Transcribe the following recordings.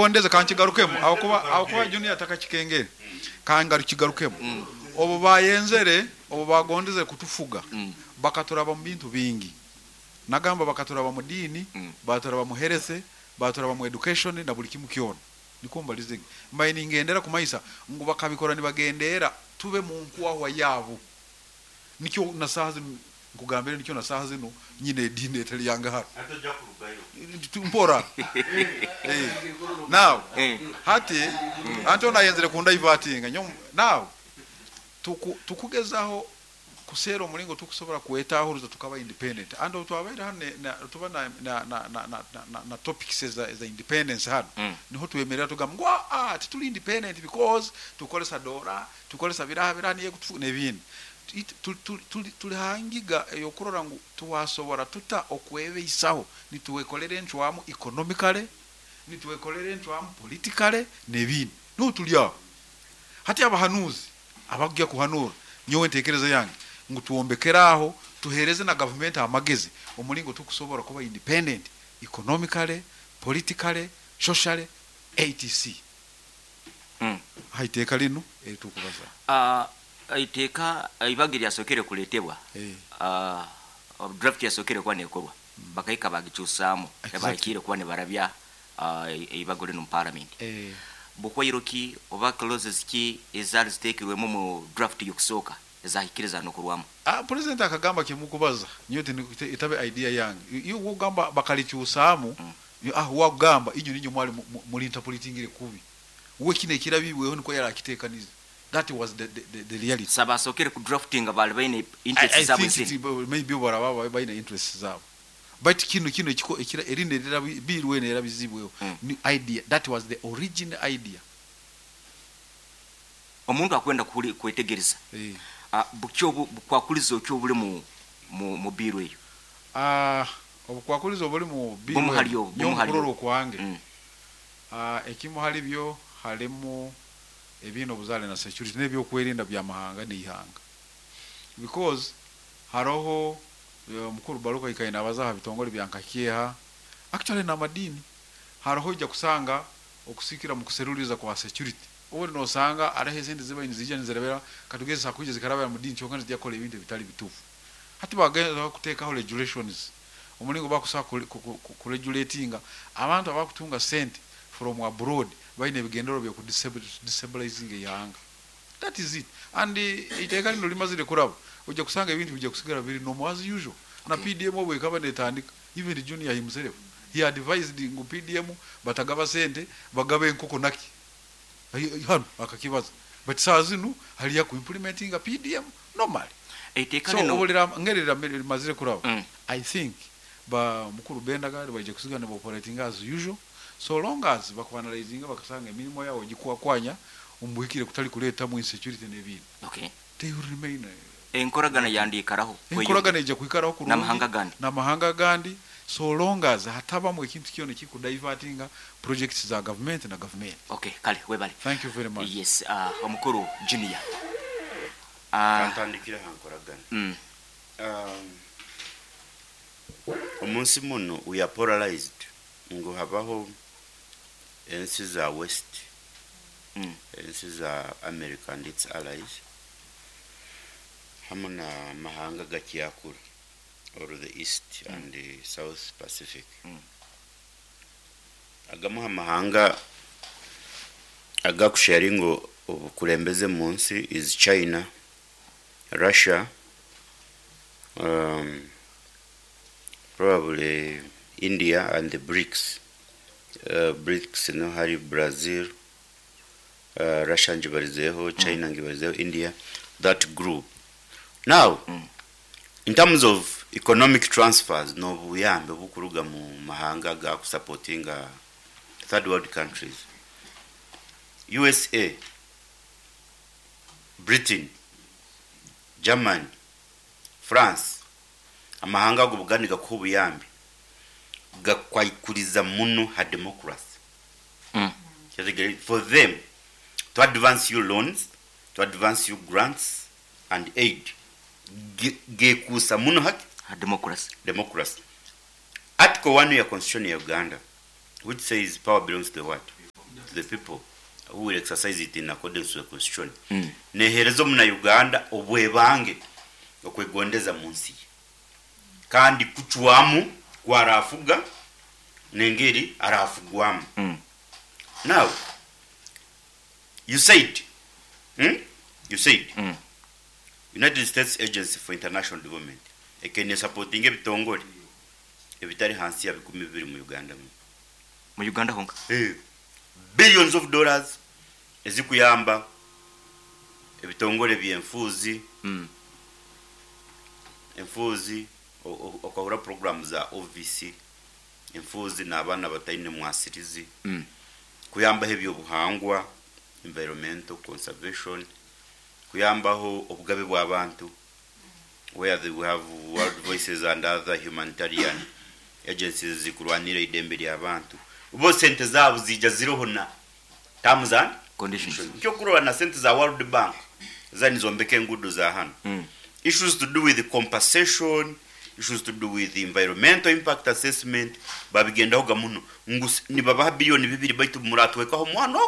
Bagondeze kankigarukemu ahakuba ahakuba Junior atakakikengere kangarukigarukemu obu bayenzere obu bagondeze kutufuga bakaturaba mu bintu bingi nagamba bakaturaba mu diini baturaba mu health baturaba mu education na buri kimu kyona nikwo mbarize mbaire ningendera kumanyisa ngu bakabikora nibagendeera tube mu nkwahwa yaabo Nikyo na saaha zinu nkugambire nikyo na saaha zinu nyine ediini etari yange hanu. Mpora. Now hati anti onu ayenzire kundaivatinga nyowe now tuku tukugezaho kuseera omuringo tukusobora kwetahuriza tukaba independent and obu twabaire hanu na tuba na na na na na na na topics eza eza independence hanu niho twemerera tugamba ngu aa tituri independent because tukukoresa doora Tukoresa biraha biraha niyo ekutufuga n'ebindi. Tuli ha ngiga ey'okurora ngu twasobora tuta okwebeisaho nitwekolera encwamu economically, nitwekolera encwamu politically n'ebindi. Niho tuli aho. Hati abahanuuzi abakugya kuhanuura, nyowe entekereza yange ngu twombekere aho, tuhereze na gavumenti amagezi omulingo tukusobora kuba independent economically, politically, socially, etc. Ha iteeka linu eri turukubazaho. A Iteeka eibaga eryasookere kuleetebwa, draft yasookere kuba neekorwa, bakahika baagikyusaamu ebahikiire kuba nibarabya eibago rinu omu Paramenti. Buhwairo ki oba clauses ki ezaali ziteekirwemu omu draft y'okusooka ezahikire zaanokorwamu? Purezidenti akagamba kimukubaza nyowe etabe idea yange. Iwe ogamba bakalikyusaamu, aho wakugamba inywe niinywe mwali mulinterpretingire kubi. We kinu ekirabibweho nikwo yarakitekanize that was the the reality. So abasookere ku draftinga baali baine I interests zaabo think ezindi? maybe obu baraba baine interests zaabo baitu kinu kinu ekiko ekira erindi erirabi bill enu erabizibweho ni idea that was the origin idea. Omuntu akwenda kuhuri kwetegereza buki obu bukwakulizo ki obuli mu mu mu bill eyo? Obukwakulizo obuli mu bill Bumu hali enu obu, nyowe bumu hali mukurora obu. okwange Ekimu hali byo halimu ebiine obuzaare na security n'ebyokwerinda by'amahanga n'eihanga because haroho Mukuru Baluku aikaire nabaza aha bitongore bya nka Kyeha actually n'amadiini haroho oija kusanga okusikira omu kuseruliriza kwa security obundi nosanga haroho esente ezibaire niziija nizirabira katugeze zisobora kwija zikarabira mu diini kyonka nizija kukora ebintu ebitari bituufu. Hati bagezaho kuteekaho regulations omuringo bakusobola ku regulatinga abantu abakutunga sente from abroad baine ebigendererwa byoku destabilizinga eihanga. That is it and eiteeka rinu rimazire kuraba oija kusanga ebintu bija kusigara biri normal as usual. Na PDM obu ekaba netandika even Junior himself he advised ngu PDM batagaba sente bagabe enkoko naki hanu akakibaza but saaha zinu hariyo aku implementinga PDM normally. Eiteeka So rinu. obu ngeri rimazire kuraba I think ba mukuru Benda nibaija kusigara niba operatinga as usual so long as baku analyzinga bakasanga emirimo yabo egikwakwanya omu buhikire kutari kuretamu insecurity n'ebindi Okay. they will remain Enkoragana working. yandiikaraho Enkoragana kweyongera eija kwikaraho kurungi n'amahanga agandi. n'amahanga agandi so long as hatabamu ekintu kyona ekikudivertinga projects za gavumenti na gavumenti. Okay, kale webale. Thank you very much. Yes, omukuru Junior. Kantandikire aha nkoragana. Omu nsi munu we are polarized ngu habaho ensi za west, ensi za America and its allies hamu na mahanga agakyakura or the east and south pacific. Agamu aha mahanga agakusharinga obukurembeze omu nsi is China, Russia, probably India and the BRICS. BRICS niho hari Brazil, Russia ngibarizeho, China ngibarizeho, India, that group. Now, in terms of economic transfers n'obuyambi obukuruga omu mahanga agakusapotinga third world countries, USA, Britain, Germany, France, amahanga ago obu nigakuha obuyambi, gakwaikuriza muno ha democracy. For them to advance you loans, to advance you grants and aid, gekuusa muno haki? Ha democracy. Democracy. Article one ya constitution ya Uganda which says power belongs to the what? to the people who will exercise it in accordance to the constitution. Neeheereza omunauganda obwebange okwegondeza mu nsi ye kandi kucwamu ku araafuga n'engeri araafugwamu. Now, you said, hmm? You said, United States Agency for International Development ekaire nesapotinga ebitongore ebitari hansi ya 20 mu Uganda muno. Mu Uganda honka. Eh, billions of dollars ezikuyamba ebitongore by'enfuuzi, enfuuzi okahura puroguraamu za OVC, enfuuzi n'abaana abataine mwasirizi, kuyambaho eby'obuhangwa, environmental conservation, kuyambaho obugabe bw'abantu, where the, we have World Voices and other humanitarian agencies zikurwanira eidembe ry'abantu. Bo sente zaabo ziija ziriho na terms and conditions. Nk'okurora na sente za World Bank za nizombeka enguudo za hanu. Issues to do with compensation, issues to do with environmental impact assessment babigendahoga muno ngu nibabaha 2 billion baitu muratwekaho omwana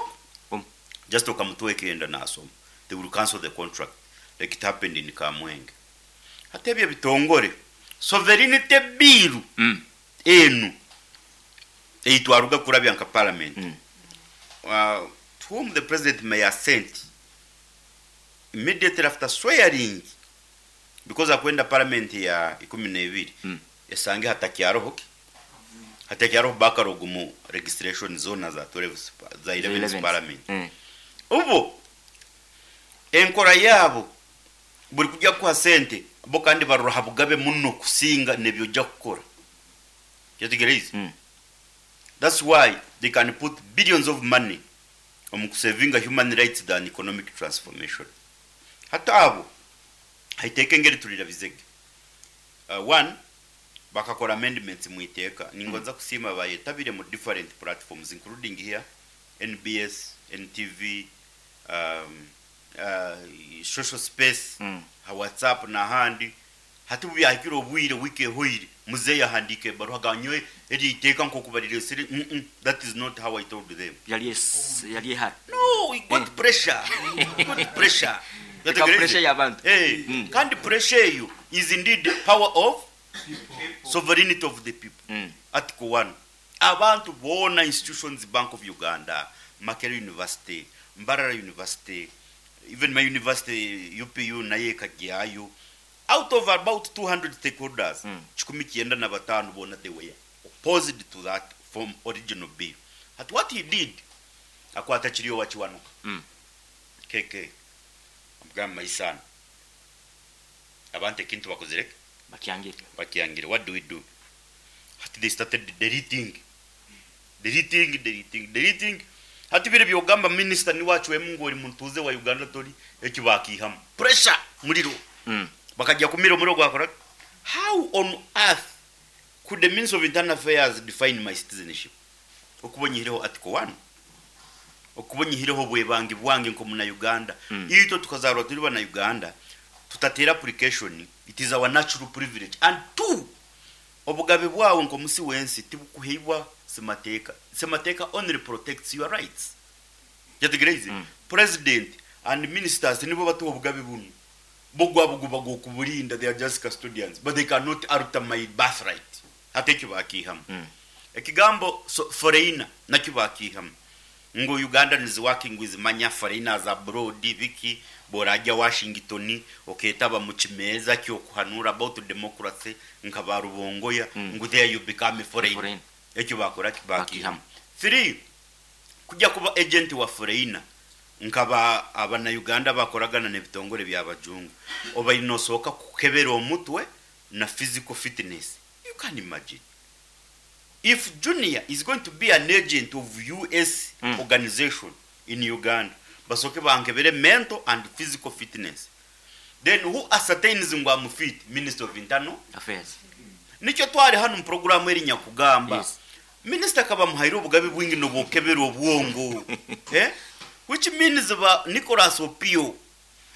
ogu. Just okamutweka enda nasoma. They will cancel the contract like it happened in Kamwenge. Hati ebyo ebitongore sovereignty bill enu ei twaruga kurabya nka parliament to whom the president may assent immediately after swearing because akwenda parliament ya 12 esange hatakyaroho ki hatakyaroho backlog mu registration zona za 12 za 11 11th. Parliament. Ubu enkora yaabo buri kujya kuha sente bo kandi barora ha bugabe muno kusinga nebyo ojja kukora. Kyetegereze. That's why they can put billions of money omu kusevinga human rights than economic transformation. Hati abo haiteeka engeri turira bizege. One bakakora amendments mu iteeka. Ningonza kusiima bayetabire mu different platforms including here NBS, NTV, social space, ha WhatsApp n'ahandi. Hati ubu byahikire obwire wiiki ehoire muzeeyi ahandiika ebaruha agamba nyowe eri iteeka nk'oku barireesire, that is not how I told them. Yari yari ehara. No, we got pressure. We got pressure. Eka pressure y'abantu. Eh, kandi pressure eyo is indeed the power of sovereignty of the people. Article 1. Abantu boona institutions, Bank of Uganda, Makerere University, Mbarara University, even my university UPU nayo ekagyayo. Out of about 200 stakeholders, 195 boona they were opposed to that from original bill. At what he did, akwata Kiryowa Kiwanuka. KK. Amugamba, my son. Abantu ekintu bakozire Bakyangire. Bakyangire. What do we do? Hati they started deleting. Deleting, deleting, deleting. Hati bire byogamba minister ni wacu ngu ori muntuze wa Uganda tori eki bakihamu. Pressure muliro. Bakajya kumira omuriro gwakora. How on earth could the Minister of Internal Affairs define my citizenship? Okuba onyihireho article 1. Okuba onyihireho obwebangi bwange nk'omuna Uganda. Itwe tukazarwa turi bana Uganda tutatera application, it is our natural privilege. And two, obugabe bwawe nk'omusi wensi tibukuheibwa semateeka. Semateeka only protects your rights. Kyetegereze. President and ministers nibo batuha obugabe bunu. Bo gwabo guba gw'okuburinda, they are just custodians, but they cannot alter my birthright. Hati ekyo bakiihamu. Ekigambo so, foreigner nakyo bakiihamu. Ngu Uganda is working with manya foreigners abroad biki borajya Washington oketaba mu kimeeza ky'okuhanura about democracy nka ba Rubongoya ngu there you become a foreigner. Foreigner. Ekyo bakora ki bakiihamu. Bakiihamu. Three, kujya kuba agent wa foreigner nkaba abana bakoragana n'ebitongore by'abajungu oba nosooka kukebera omutwe na physical fitness. You can imagine if Junior is going to be an agent of US organization in Uganda, basooke bankebere mental and physical fitness. Then who ascertains ngu am fit? Minister of Internal Affairs. Nikyo twari hano mu programu eri nyakugamba. Minisita akaba amuhaire obugabe bwingi nobukebera obwongo, eh? Which means ba Nicholas Opio,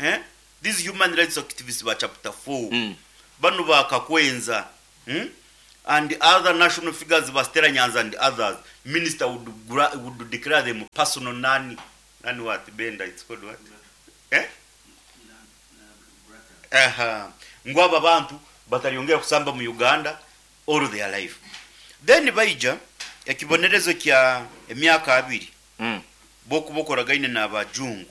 eh? These human rights activists ba chapter 4, bano bakakwenza? And other national figures ba Stella Nyanzi and others, minister would, would declare them personal nani, nani what, Benda, it's called what? Eh? Aha. Ngu aba bantu bataryongera kusamba mu Uganda all their life. Then baija ekibonerezo kya emyaka abiri bokuba okoragaine n'abajungu,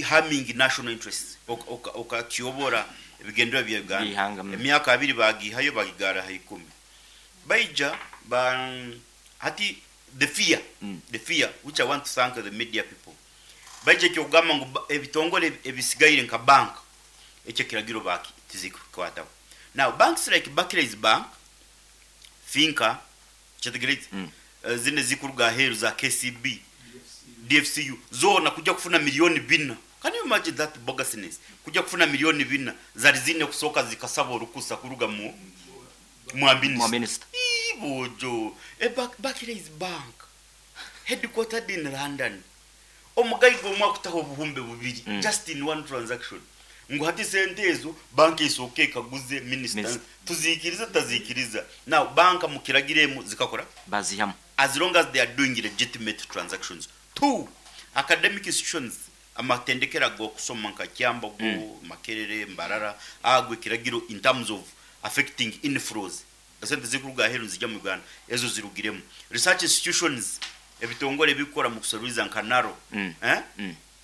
Harming national interests, okakiyobora ebigendererwa bya Uganda. By'eihanga. Emyaka abiri bagihayo bagigara ha ikumi. Baija ba hati the fear, the fear which I want to thank the media people. Baija ekyokugamba ngu ebitongore ebisigaire nka bank ekyo ekiragiro baki tizikukwataho. Now banks like Barclays Bank, Finca, kyetegereze, zine zikuruga aheeru za KCB, DFCU, zoona kujja kufuna milioni bina. Can you imagine that bogusness? Kujja kufuna milioni bina zari zine kusooka zikasaba orukusa kuruga mu mwa minister. Mwa minister. Ii, bojo. Barclays Bank headquartered in London. Omugaiga omwe akutaho obuhumbi bubiri just in one transaction. Ngu hati sente ezo banka esooke ekaguze minister. Minister. Tuzikiriza tutazikiriza. Now banka mukiragiremu zikakora Bazihamu. As long as they are doing legitimate transactions. Two, academic institutions amatendekero ag'okusoma nka Kyambogo, Makerere, Mbarara, ago ekiragiro in terms of affecting inflows. Esente zikuruga aheeru nizija mu Uganda, ezo zirugiremu. Research institutions, ebitongore ebikukora mu kuseruliza nka NARO, eh?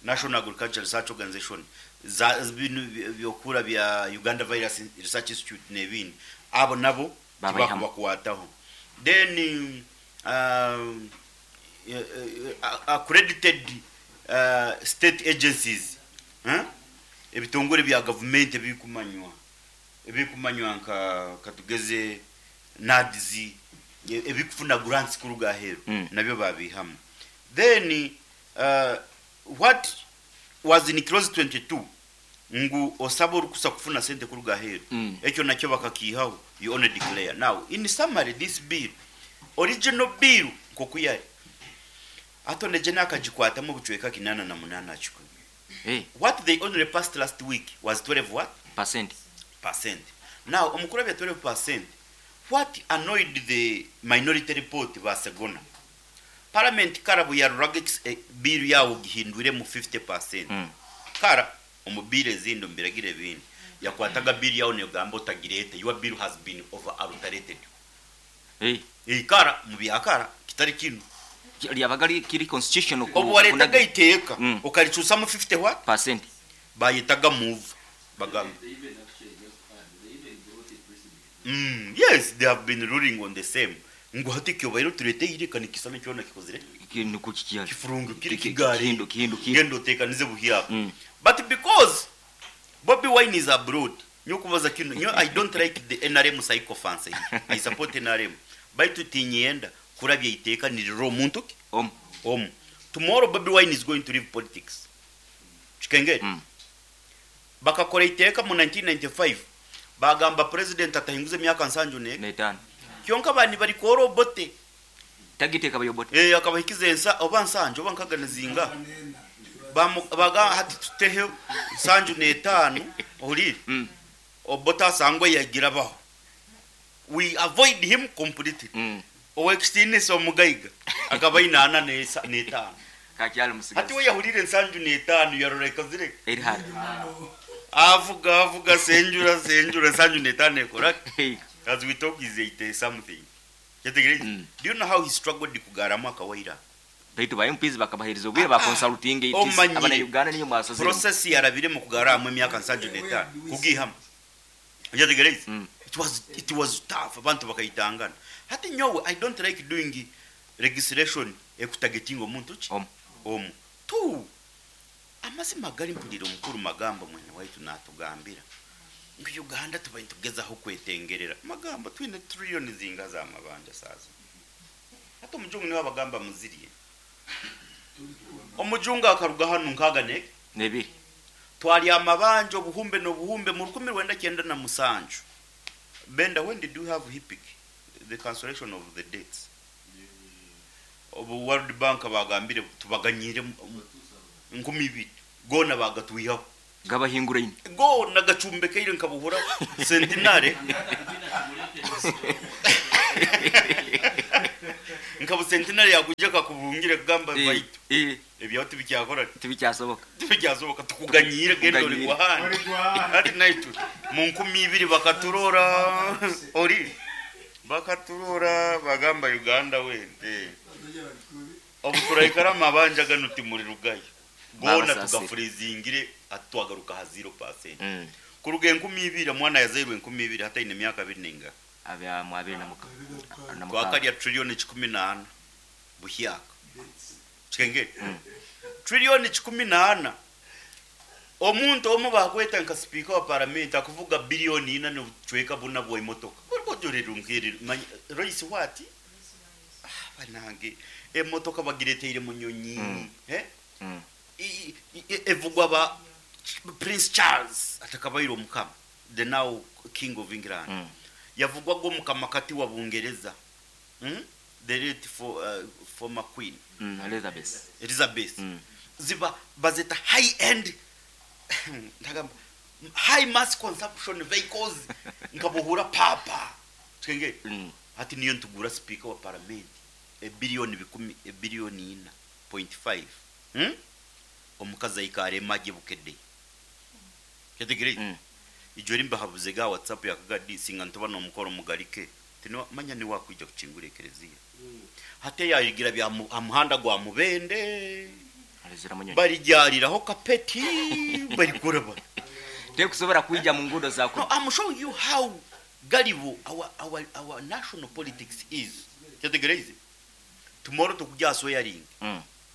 National Agricultural Research Organization, za binu byokura bya Uganda Virus Research Institute n'ebindi, abo nabo Babayihamu. tibakubakwataho. Then accredited state agencies, eh? Ebitongore bya gavumenti ebikumanywa nka katugeze NAADS, ebikufuna grants kuruga aheeru, nabyo babihamu. Then what was in clause 22 ngu osaba orukusa kufuna sente kuruga aheeru, ekyo nakyo bakakiihaho, you only declare. Now in summary, this bill, original bill nkoku yari Attorney General akagikwatamu obucweka 88 akikumi. What they only passed last week was 12 what? Percent. Percent. Now omukuru abya 12%, what annoyed the minority report basegona. Parliament kara buyaruraga bill yawo gihindwire mu 50%. Kara omu bill ezindi omu biragiro ebindi yakwataga bill yawo negamba otagirete, your bill has been over adulterated. Kara mu byakara kitari kinu. Lyabaga kiri constitutional Obu waretaga iteeka okaricusamu 50 what? Percent. Bayetaga move bagamba. Yes, they have been ruling on the same. Ngu hati kyobaire turete ireka nikisana kyona kikozire. Nuko kikiyari. Kifurungu kiri kigari. Kihindu, kihindu, kihindu. Gendo tekanize buhiyako. But because Bobi Wine is abroad, nyokubaza kino, nyo I don't like the NRM sycophancy. I support NRM. Baitu tinyenda kurabya iteka niriro omuntu ki? Omu. Omu. Tomorrow Bobi Wine is going to leave politics. Chikengeri. Bakakora iteka mu 1995 bagamba president atahinguza emyaka nsanju ne n'etaano. Kyonka bani bari kora Obote. Tagiteeka bayobote. Akabahikiza ensa oba nsanju oba nkaga nezinga. Baga hati tutehe nsanju n'etaano ohurire. Obote asangwe yagira baho. We avoid him completely. Owekitiinisa omugaiga akaba aine ana n'etaano. Kakyali musigazi. Hati we yahurire nsanju n'etaano yarora ekozire. Eri hali. Avuga avuga senjura senjura nsanju n'etaano ekora. Hey. As we talk is 80 something. Kyetegereze. Do you know how he struggled kugaramu akawaira? Baitu ba MPs bakabahereza obwire ba consulting it is Omanyire. abana Uganda niyo mwasazire. Process yarabire mu kugaramu emyaka nsanju n'etaano kugihamu. Kyetegereze. It was tough abantu bakayitangana. Hati nyowe I don't like doing legislation ekutagetinga omuntu ki? Omu. Omu. Two. Amazima gari mpulira omukuru magambo mwene waitu natugambira. Ngu Uganda tuba nitugezaho kwetengerera. Magambo twine trillion zinga za mabanja saza. Hata omujungu niwe abagamba muziriye. Omujungu akaruga hano nkaga ne Nebiri. Twali amabanja obuhumbe n'obuhumbe mu 1997. Benda, when did you have HIPC? The cancellation of the debts. Obu World Bank bagambire tubaganyire nkumi ibiri. Gona bagatwihaho. Gabahinguraine. Goona gacumbekaire nka buhura centenary nka bu centenary yakwija akakubungira akugamba baitu ebyawe tibikyakora ki? Tibikyasoboka. Tibikyasoboka tukuganyiire genda ori gw'ahandi. Hati naitwe mu 2000 bakaturora ori bakaturora bagamba Uganda wente obu turaikara amabanja ganu timurirugayo. Goona Babasaasire. tugafreezingire hati twagaruka aha 0%. Kuruga 2000 omwana yazairwe 2000 hati aine emyaka abiri nengaha? Abya mu abiri na muka na mukaaga. Twakarya trillion 14 buhyaka. Kikengeri? Trillion 14 omuntu omwe bakweta nka sipiika wa paramenti akuvuga billion ina nobucweka buna bwa emotoka. Manya Royce what? Ah banange emotoka bagireteire munyonyi. Eh? Evugwa ba Prince Charles atakabaire omukama the now king of England. Yavugwaga omukama kati wa Bungereza. The late for, former queen. Elizabeth. Elizabeth. Ziba bazeta high end ndagamba high mass consumption vehicles nkabuhura papa. Twenge. Hati niyo ntugura speaker wa parliament ebillion bikumi ebillion ina point five. Omukazi aikare emagi bukedde. Kyategereye? Ijo rimba habuze ga WhatsApp yakagadi singa ntuba no mukoro mugarike. Tino manya ni wakwija kuchingura ekereziya. Hate yayigira bya muhanda gwa mubende. Alizira munyonyi. Barijariraho kapeti barikora ba. Tekusobora kuija mu ngudo za ku. No, I'm showing you how gullible our national politics is. Kyategereye? Tomorrow tukujya swearing.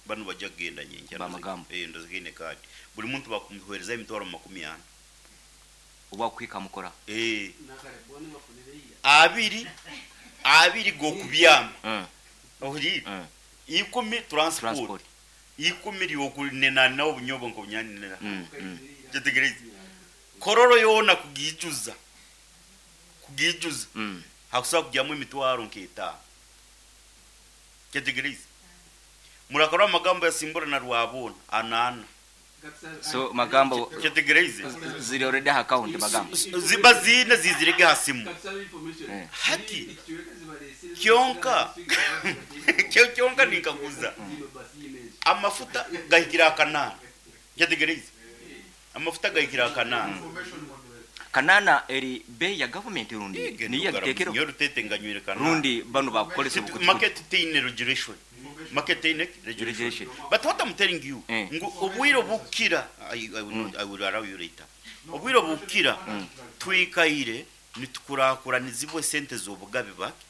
Bano bajja kugenda nyenkya. Bamagambo. Ndozigine kadi. Buli muntu bakumuhereza emitwaro makumi ana. Oba kwika mukora. Abiri go kubyama. Ohiri. 10 transport. Transport. 10 lyokunena na obunyobo nko bunyanira. Kyategereze. Kororo yona kugijuza. Kugijuza. Hakusa kujyamu emitwaro nketa. Kyategereze. Murakora amagambo ya Simbura na Rwabona anana. So magambo Kyategereze. ziri already account magambo. Ziba zine zizirege hasimu. Hati kyonka kyonka ninkaguza. Amafuta gahikira akanana. Kyategereze. Amafuta gahikira akanana. Kanana eri bei ya government rundi ni ya kitekero. Nyo rutete nganywire kanana. Rundi bano bakukolesa bukuti. Market teine regulation. Market teine regulation. But what I'm telling you, ngu obwiro bukira, I will not, I will allow you later. Obwiro bukira twikaire nitukurakuranizibwe sente z'obugabe bake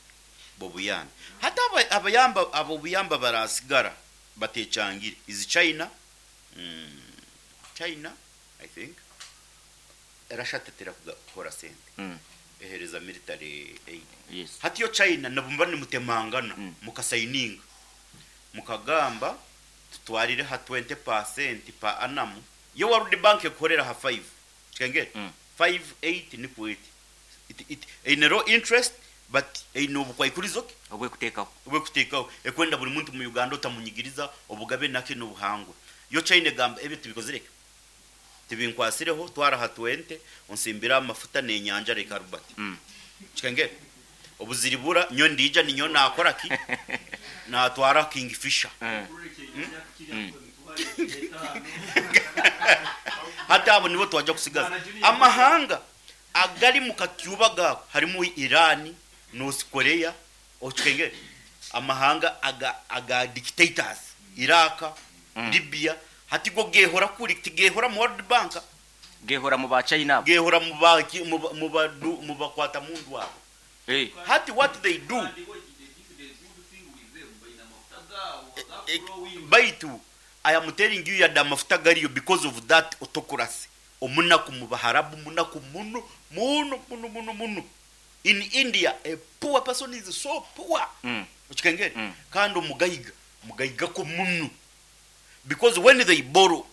bobuyambi. Hata abayamba abo buyamba barasigara batechangire. Is China? China, I think. Russia tetera kugakora sente. Ehereza military aid. Yes. Hati yo China nabumba ni mutemangana mukasayininga. Mukagamba tutwarire ha 20% pa annum. Yo World Bank ekorera ha 5. Kikengere? 5 8 ni ku 8. It in low interest but ino bukwaikurizo obwe kutekaho. Obwe kutekaho. Ekwenda buri muntu mu Uganda otamunyigiriza obugabe nake n'obuhangwa. Yo China gamba ebyo tubikozereke. Tibinkwasireho twara ha 20 onsimbira amafuta n'enyanja reka Albert. Kikengere? Obuziribura nyo ndija ninyo nakora ki? Natwara Kingfisher. Hata abo nibo twaja kusigaza. Amahanga agali mu katyuba gako harimo Iran, North Korea, okikengere. Amahanga aga dictators, Iraq, Libya, hati go gehora kuri tigehora mu World Bank. Gehora mu ba China. Gehora mu ba mu ba mu bakwata mundu wabo. Hati what they do. Baitu I am telling you yada mafuta gariyo because of that autocracy. Omunaku mu Baharabu, munaku muno muno muno muno muno. In India a poor person is so poor. Okikengere? Kandi omugayiga, mugayiga ko muno. Because when they borrow,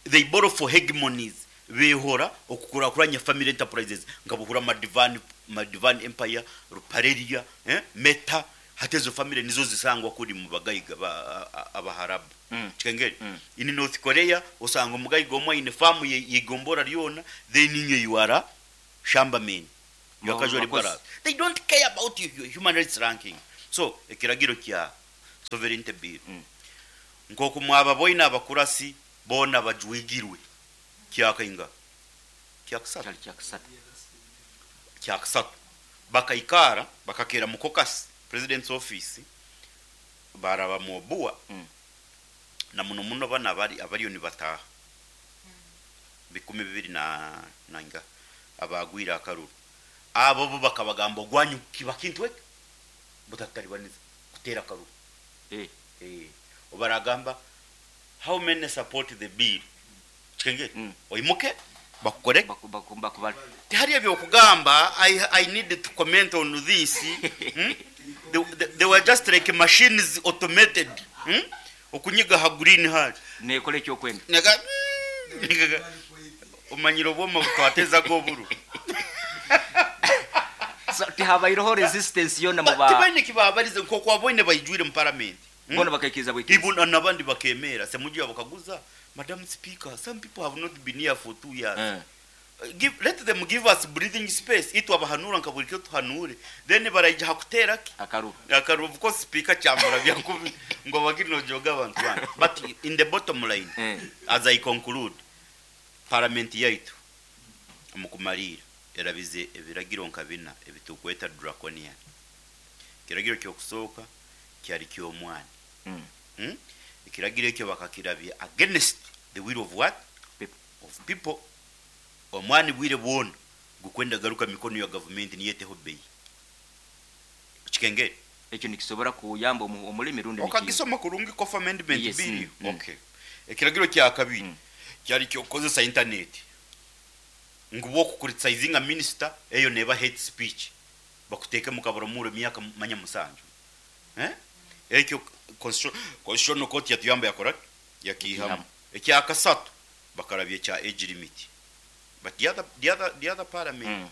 they borrow for hegemonies. Behora okukurakuranya family enterprises ngabuhura Madivan Empire, Ruparelia, Meta. Hati ezo family nizo zisangwa kuri mu bagaiga ba Abaharabu. Kikengeri? In North Korea osanga omugaiga omwe aine farm ye yeigombora ryona then inywe you are a shamba men. You are casual Abakozi. labourers. They don't care about your human rights ranking. So ekiragiro kya Sovereignty Bill nkoku mwababoine abakurasi boona bajwigirwe kyakainga? Kyakasatu. Kyali kyakasatu. Kyakasatu bakaikara bakakeera mu caucus, president's office, baaraba mu Obua na muno muno banu abari abariyo nibataaha 2000 na nainga abaagwire akaruru abo bo bakabagamba ogwanyu kiba kintu eki butataribaniza kuteera akaruru. Eh. Eh, obaragamba how many support the bill kikengeri oimuke bakukore Baku- baku- bakubale. Tihariyo ebyokugamba I, I need to comment on this They were just like machines automated Okunyiga ha green hari Nekora ekyokwenda. Nega nega omanyire obwoma butwatezaga oburo. So tihabaireho resistance yona mu ba Tibaine ekibabarize nkoku waboine baijwire mu parliament. Bona bakaikiriza bwikiriza. Ibo nabandi bakemeera Semujju yabakaguza Madam Speaker some people have not been here for 2 years. Give, let them give us breathing space itwe abahanuura nka buri kiro tuhanuure then baraija ha kuteera ki? Akaruru. Akaruru of course speaker kyamurabya nkubi ngu obagire nojooga abantu bandi but in the bottom line as I conclude parliament yaitu omu kumariira erabize ebiragiro nka bina ebitukweta draconian. Ekiragiro ky'okusooka kyari ky'omwana. Ekiragiro ekyo bakakirabya against the will of what? People. Of people. Omwani bwire bwona gukwenda garuka mikono ya gavumenti niyo eteho beyi. Okikengere? Ekyo nikisobora kuyamba omulimi rundi niki? Okagisoma kurungi Cough Amendment Yes. Bill? Okay. Ekiragiro kya kabiri kyari ky'okukozesa intaneti ngu bw'okucriticizinga minisita eyo neeba hate speech bakuteeke omu kaburamuro emyaka manya musanju. Eh? Ekyo Constitutional Court yatuyamba yakora ki? Yakiihamu. Yakiihamu. Ekya kasatu bakarabya ekya age limit. But the other, the other, the other parliament,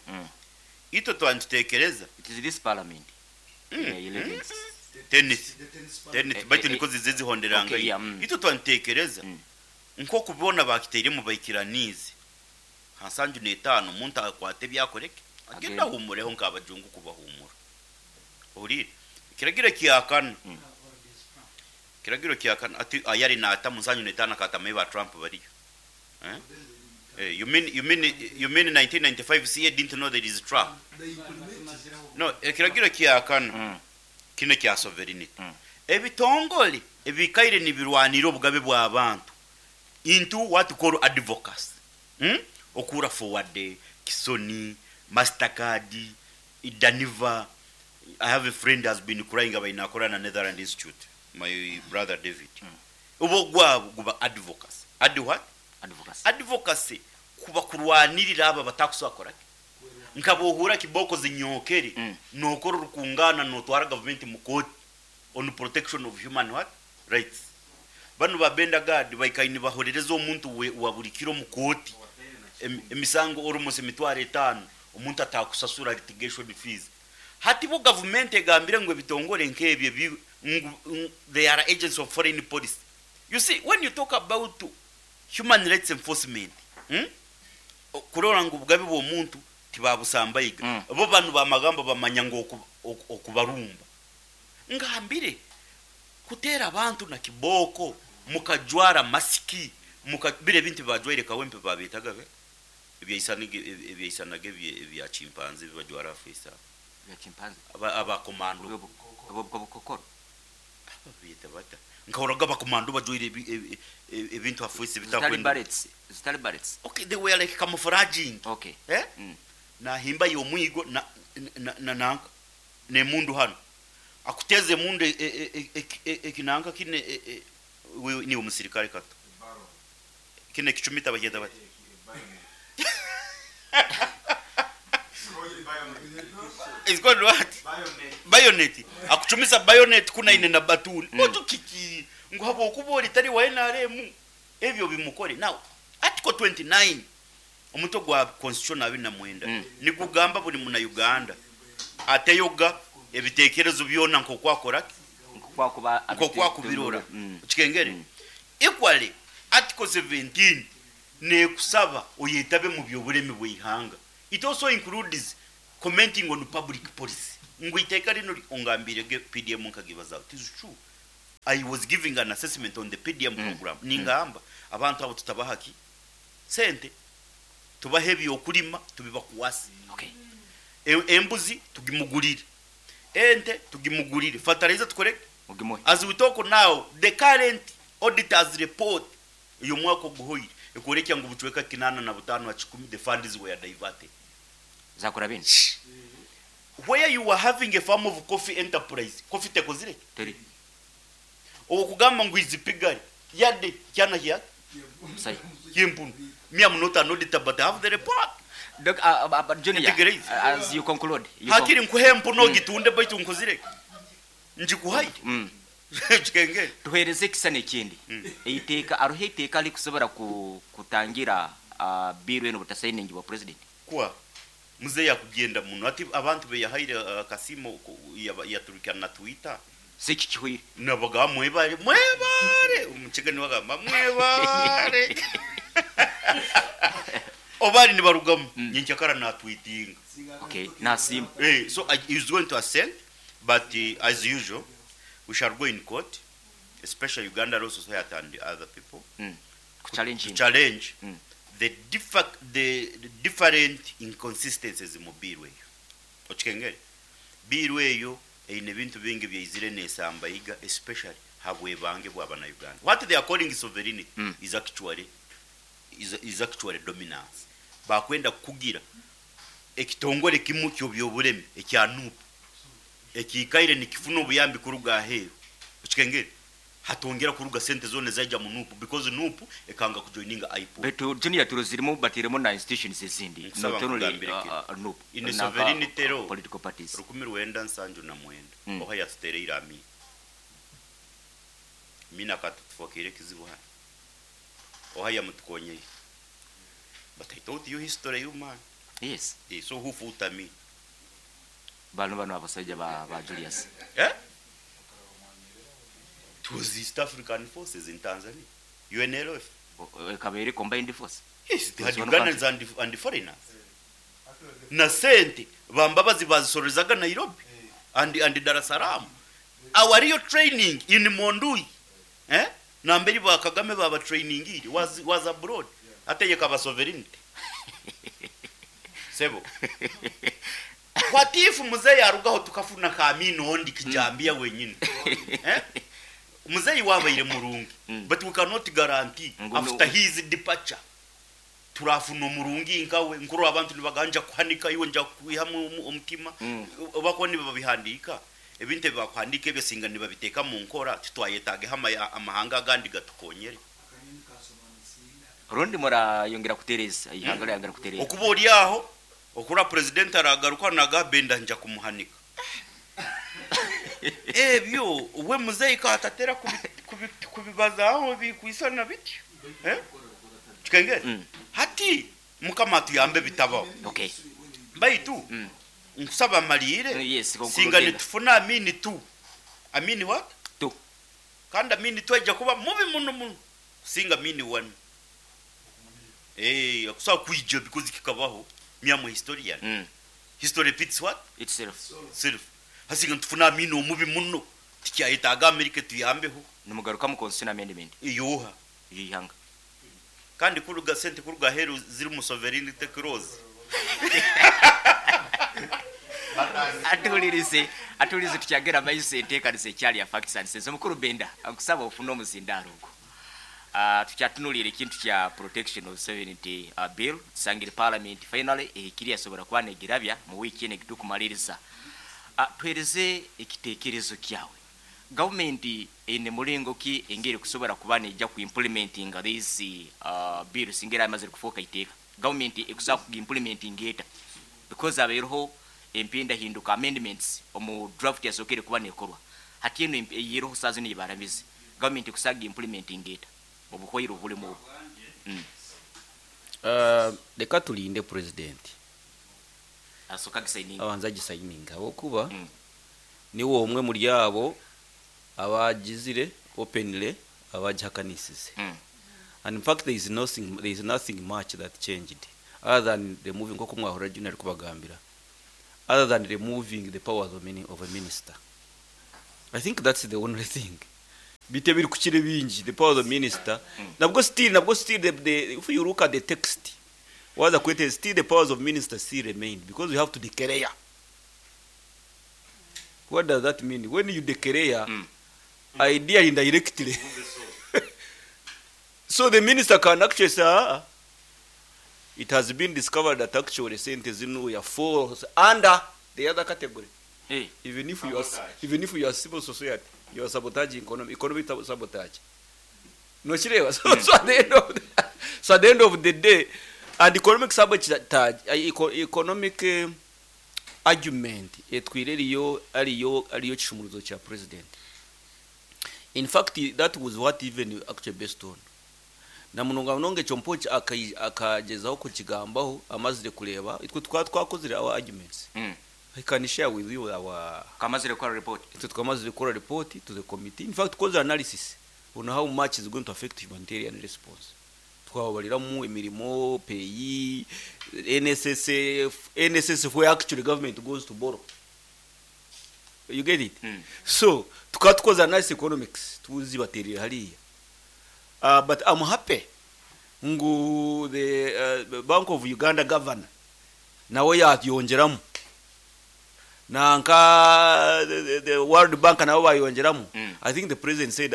itwe twaba nitutekereza. It is this parliament. Yeah, 11th. Tenth. Tenth, baitu niko zize zihonderanga. Okay, yeah. Itwe twaba nitutekereza nk'oku boona bakiteiremu baikiraniize. Ha nsanju n'etaano omuntu akwate ebi akoreke, agende Agende. ahumureho nk'abajungu kubahumura. Ohuriire? Ekiragiro kya kana. Ekiragiro kya kana ati ayari naata mu nsanju n'etaano akatama ei ba Trump bariyo. Eh? Eh, you mean, you mean, you mean 1995 CA didn't know there is Trump? No, ekiragiro kya kana kino kya sovereignty. Ebitongole ebikaire nibirwanira obugabe bw'abantu into what you call advocacy. Okura forward Kisoni, Mastercard, Daniva. I have a friend has been crying about inakora na Netherlands Institute, my brother David. Obo gwabo guba advocacy. Adi what? Advocacy. Advocacy kuba kurwanirira aba batakusakora. Nkabohura kiboko zinyokere nokora rukungana notwara government mu court on protection of human what rights. Banu ba Benda Guard baikaini bahorereza omuntu we wa buri kiro mu court. Emisango almost emitwaro etaano omuntu atakusasura litigation fees. Hati bo government egambire ngu ebitongore nk'ebyo ngu they are agents of foreign policy. You see, when you talk about human rights enforcement, Kurora ngu obugabe bw'omuntu tibabusambaiga. Bo banu bamagamba bamanya ngu okubarumba. Ngambire kuteera abantu na kiboko mukajwara masiki bire ebintu bajwaire kawempe babetaga be ebyaisanaga ebya chimpanzee bibajwara afisa. Ebya chimpanzee. Abakomando. Obukokoro. Babeta bata. Nkahoraga abakomando bajwaire ebintu afisa Zitari bitakwenda. barrets. Zitari barrets. Okay, they were like camouflaging. Okay. Nahimba yomwigo na na na na nemundu hano. Akuteze mundu ekinanka kine we ni umusirikare kato. Kine kichumita bagenda bati. It's called what? Bayonet. Akuchumisa bayonet kuna ine na batuni. Ojo kiki ngo habo okubori tari wa NRM. Ebyo bimukore. Now article 29 omuto gwa constitution abiri na mwenda. Nikugamba buri muna Uganda ateyoga Ebitekerezo byona nk'oku akora ki? Nk'oku akubirora. Okikengere? Equally, Article 17 neekusaba oyetabe mu by'obulemi bw'eihanga. It also includes commenting on public policy. Ngu eiteeka rinu ongambiire ge PDM nkagibazaho. It is true. I was giving an assessment on the PDM program. Ningamba abantu abo tutabaha ki? Sente. Tubahe eby'okulima tubibakwase. Embuzi tugimugurire, ente tugimugurire, fertilizer tukore ki? As we talk now, the current auditor's report ey'omwaka oguhoire ekworekya ngu obucweka 85 ha kikumi the funds were diverted. Where you are having a farm of coffee enterprise, coffee tekozire ki? Owokugamba ngu is piggery, yade kyana kyaki? Ky'empunu. Me am not an auditor but I have the report. Ntegereize. Hakiri nkuhe empunu ogitunde baitu nkozire ki? Ngikuhaire. Kikengere. Tuhereze ekisisani ekindi. Eiteeka, haroho eiteeka rikusobora kutangira bill enu obutasainingibwa president? Kwa Muzeeyi akugyenda muno ati abantu beyahaire akasiimo yaturukya na Twitter. Si eki kihweire. Nabagamba mwebare mwebare omukiga nibagamba mwebare oba nibarugamu nyenkyakara natwitinga. Okay nasiima. So he's going to assent but as usual we shall go in court especially Uganda Law Society and other people to challenge the different inconsistencies mu bill eyo. Okikengere? Bill eyo eine ebintu bingi ebyaizire nesambaiga especially habwebange bwa bana Uganda. What they are calling sovereignty is actually is actually dominance. Bakwenda kukugira ekitongore kimu ky'obyobulemi ekya nup ekiikaire nikifuna obuyambi kuruga aheeru. Okikengere? Hatongera kuruga sente zona ezaija mu nup because nup ekanga kujoininga IPOD. Baitu Junior turoziremu batairemu na institutions ezindi Nkusaba not only nkugambire kinu. nup In nanka sovereignty law political parties. 1979 oha yatutereire Amin. Amin akatutufokeire ekizibu hanu. Oha yamutukonyeire. But I taught you history you man. Yes. So who fought Amin? Banu banu abasaija ba Julius. Eh? It was East African forces in Tanzania, UNLF. Ekaba eri combined force. Yes, they had It was one Ugandans country. and foreigners. Na sente ba Mbabazi bazisororezaga Nairobi and Dar es Salaam. Our real training in Mondui, eh? Namberi ba Kagame baba trainingire was abroad. Ate yekaba sovereignty. Sebo. What if muzeyi arugaho tukafuna ka Amin ondi kijambiya wenyini? Eh? Muzeyi wabaire murungi, but we cannot guarantee after his departure turafuna omurungi nkawe. Nkuru abantu nibagamba nja kuhanika iwe nja kwihamu omutima. Bakuba nibabihandiika ebintu ebi bakuhandiika ebyo singa nibabiteeka mu nkora titwayetaageho amahanga agandi gatukonyere. Rundi murayongera kutereeza ihanga ryayongera kutereera. Okuba ori aho okura president aragaruka naga Benda nja kumuhanika. Ebyo we muzeyi katatera kubibazaho bikwisana bityo. Kikengere? Hati Mukama atuyambe bitabaho. Baitu nkusaba malire Yes, conclude singa enda. nitufuna Amini tu. Amini what? Tu. Kandi Amini tu aija kuba mubi muno muno kusinga Amini one. Akusobola kwija because kikabaho. Me am a historian. History repeats what? Itself. Self. Hasinga nitufuna Amini omubi muno tikyayetaaga America tuyambeho. Nimugarukamu constitution amendment. Eyooha. Ey'eihanga. Kandi kuruga sente kuruga aheeru zirimu sovereignty clause. Atuhulirize, atuhulirize tukyagera maiso enteekaniza ekyali ya Facts and Sense. Omukuru Benda, nkusaba ofune omuzindaaro ogwo. Tukyatunuliire ekintu kya Protection of Sovereignty Bill, tusangire Parliament finally ehikire yasobora kuba negirabya mu wiiki enu egitukumaliriza. Tuhereze ekitekerezo kyawe. Gavumenti eine muringo ki engeri ekusobora kuba neija ku implementinga this bill singa eraba emazire kufooka iteeka? Gavumenti ekusobora kugi implementinga eta? Because habaireho empindahinduka, amendments, omu draft yasookere kuba nekorwa. Hati enu eyiroho saaha zinu eyibaramize, gavumenti ekusobora kugi implementinga eta obuhwaire obulimu obu? Leka tulinde purezidenti Asooke agisayininge. Abanze agisayininge ahabw'okuba. Niwe omwe muri abo abagizire openly abagihakanisize. And in fact there is nothing, there is nothing much that changed other than removing, nk'oku mwahurira Junior arikubagambira, other than removing the powers of, mini, of a minister. I think that's the only thing. Bite ebirikukira ebingi, the powers of minister, nabwo still, nabwo still the, if you look at the text, waza kwete still the powers of minister still remain because you have to declare. What does that mean? When you declare, ideally indirectly. So the minister can actually say, ah, it has been discovered that actually sente zinu ya falls under the other category. Even if you are, even if you are civil society, you are sabotaging economy, economic sabotage. No, Shireva. So, at the end of the, so at the end of the day, and economic sabotage, economic argument etwire ariyo ariyo ariyo kishumuruzo kya president. In fact, that was what even actually based on. Na munonga munonga ekyo mpo akagezaho kukigambaho amazire kureba itwe twaba twakozire our arguments. I can share with you our Kamazire kukora report. Itwe twamazire kukora report to the committee. In fact, tukoze analysis on how much is going to affect humanitarian response. Twababariramu emirimo, PAYE, NSSF, NSSF where actually government goes to borrow. You get it? So, tukaba tukoze analysis economics, tuzibaterera hariya. But I'm happy ngu the Bank of Uganda governor nawe yayongeramo, nanka the World Bank nabo bayongeramo. I think the president said,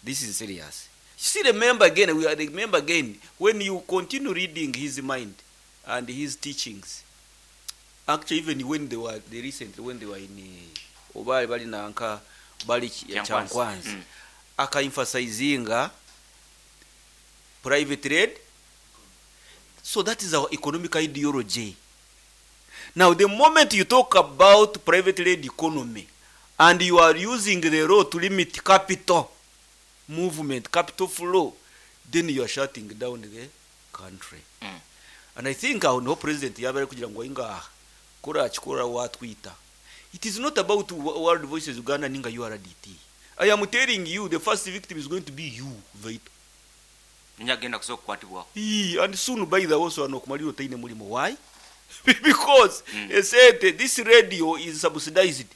this is serious. You see, remember again, we are remember again, when you continue reading his mind and his teachings, actually even when they were, they recently, when they were in, oba bali nanka, bali Kyankwanzi. Kyankwanzi. Aka-emphasizinga private trade. So that is our economic ideology. Now, the moment you talk about private led economy and you are using the law to limit capital movement, capital flow, then you are shutting down the country. And I think our no president yabere kugira ngo ingaha kora akikora watwita. It is not about World Voices Uganda ninga URDT. I am telling you the first victim is going to be you, Vito. Nyagenda kusoka kukwatibwaho. Ee, and soon by the also anokumaliro taine mulimo. Why? Because esente this radio is subsidized.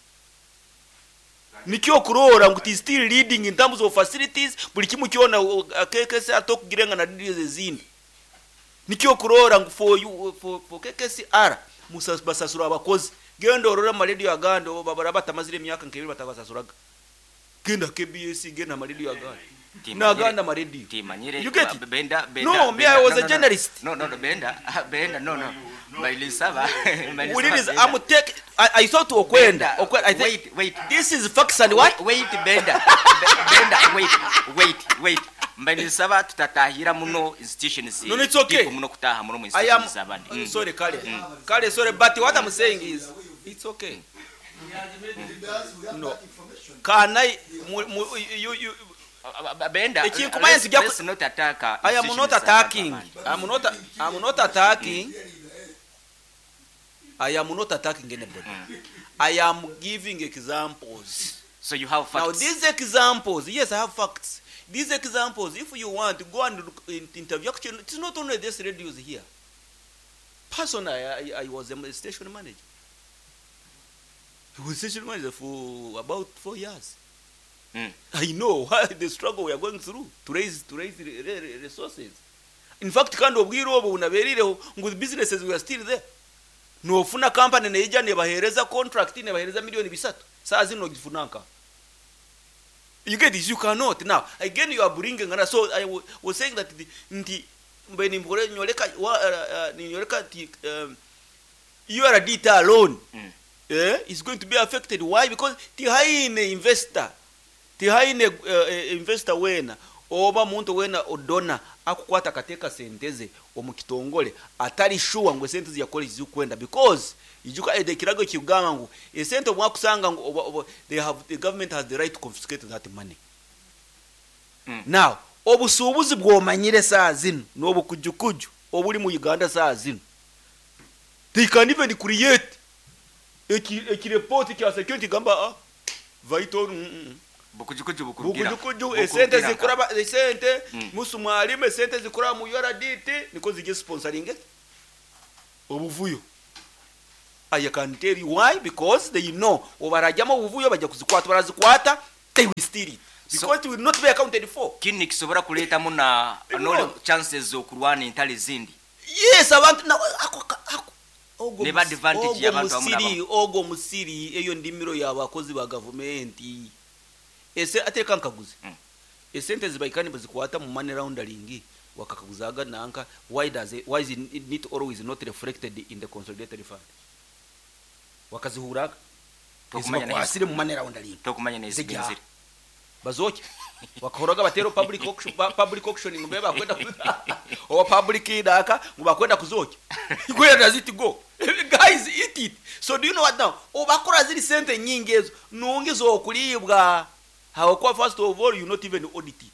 Nikyo kurora ngu it is still leading in terms of facilities, buli kimu kyona KKC atokugirenga na radio ezindi. Nikyo kurora ngu for you, for KKCR basasura abakozi. Genda orora ama radio agandi oba batamazire emyaka nkebiri batabasasuraga. Genda KBS, genda ama radio agandi. Naganda ama radio. Timanyire, You get it? Benda, Benda, No, me, Benda, I was no, a no, no. journalist. No, no, no, Benda, Benda, no, no. Bailisaba, Bailisaba, We did is, Benda. I'm take, I thought to Okwenda. Benda, Okwenda, I think wait, wait. This is facts and what? Wait, wait, Benda. Benda, wait, wait, wait. Mbailisaba tutatahira muno institutions. No, no, it's okay. Deep muno kutaha muno mu I am institutions abandi. Sorry, Kale. Kale, sorry, but what I'm saying is it's okay. No. Can I mu, you, you, Benda, Ekinkumanya nti let's not attack, I am not institutions attacking. abandi. I'm not, I'm not attacking. I am not attacking anybody. I am giving examples. So you have Now facts. these examples, yes, I have facts. These examples, if you want, go and look in, interview. Actually, it's not only this radios here. Personally, I was a station manager. I was station manager for about 4 years. I know the struggle we are going through to raise resources. In fact, kandi obwire obwo bunaberireho ngu the businesses we are still there. Nofuna company neija nebahereza contract nebahereza milioni bisatu. Saa zino gifunanka. You get this? You cannot. Now, again you are bringing another. So I was saying that the, nti mbe nimbore nyoleka wa, nyoleka ti, URDT alone is going to be affected. Why? Because tihaine investor. Tihaine investor wena oba muntu wena odona akukwata kateka senteze omukitongole atari sure ngo sente yakora izikwenda because ijuka ede kirago kigamba ngo esente obwakusanga ngo oba, they have the government has the right to confiscate that money. Now obusubuzi bwomanyire saa zino n'obukujukuju obuli mu Uganda saa zino they can even create Eki ekirepoti kya security gamba ah vital Bukujukuju bukurugira. Bukujukuju esente zikuraba esente musu mwalimu esente zikuraba mu URDT niko zijye sponsoring obuvuyo. I can tell you why, because they know obarajyamu obuvuyo bajya kuzikwata, barazikwata, they will steal it because it will not be accounted for. Kinu nikisobora kuleetamu na They no will. chances z'okurwana entalo ezindi. Yes, abantu na ako ako ogwo Neba advantage ogwo y'abantu abamu musiri n'abamu. ogwo musiri eyo ndimiro y'abakozi ba gavumenti ese ateka nkaguze esente zibaikani bazikwata mu money laundering wakakaguzaga nanka, why is it not always not reflected in the consolidated fund? Wakazihuraga Tokumanya na ezibakwasire mu money laundering Tokumanya n'ezigenzire. Bazoke wakahoraga batero public auction, public auction ngo bakwenda oba public daka ngo bakwenda kuzoke. Where does it go? Guys eat it. So do you know what now? Obakora ziri sente nyingi ezo nungi zokulibwa hawakuwa. First of all, you not even audit it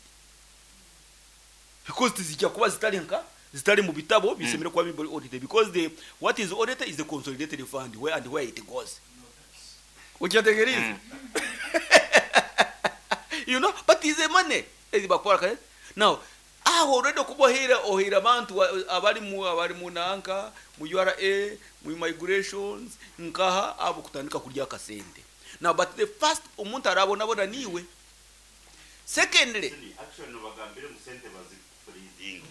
because tizijja kuba zitali nka zitali mu bitabo bisemere kuba bibali audited, because the what is audited is the consolidated fund, where and where it goes. Ukyategereza, but is a money ezibakora kare now aho already kubohera ohera abantu abari mu nanka mu URA, mu migrations nkaha abo kutandika kurya akasente now. But the first omuntu arabona niwe. Secondly, Actually, bagambire mu sente bazifreezing,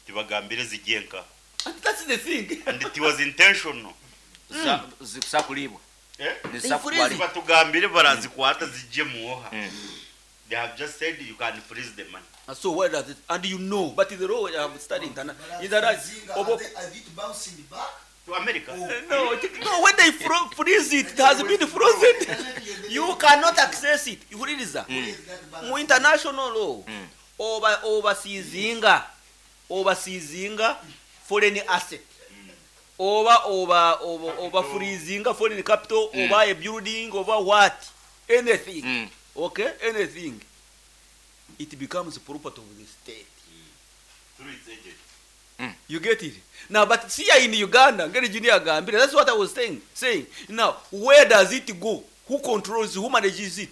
tibagambire zigiye nka and that's the thing. And it was intentional. Zikusa kulibwa. Eh? Nizisa They freeze. kutwalibwa. Batugambire barazikwata zijye muoha. They have just said you can freeze the money. And so where does it, and you know, but the law I have studied Freezing, obo are they bouncing back? To America. No, no, when they freeze it, it has been frozen. You cannot access it. Ihuririza. Where is that balance? Mu international law, oba obasizinga foreign asset, oba freezinga foreign capital, oba a building, oba what, anything, okay, anything, it becomes property of the state Through its agent. You get it now? But see, here in Uganda, ngeri junior agambire, that's what I was saying. Now, where does it go? Who controls? Who manages it?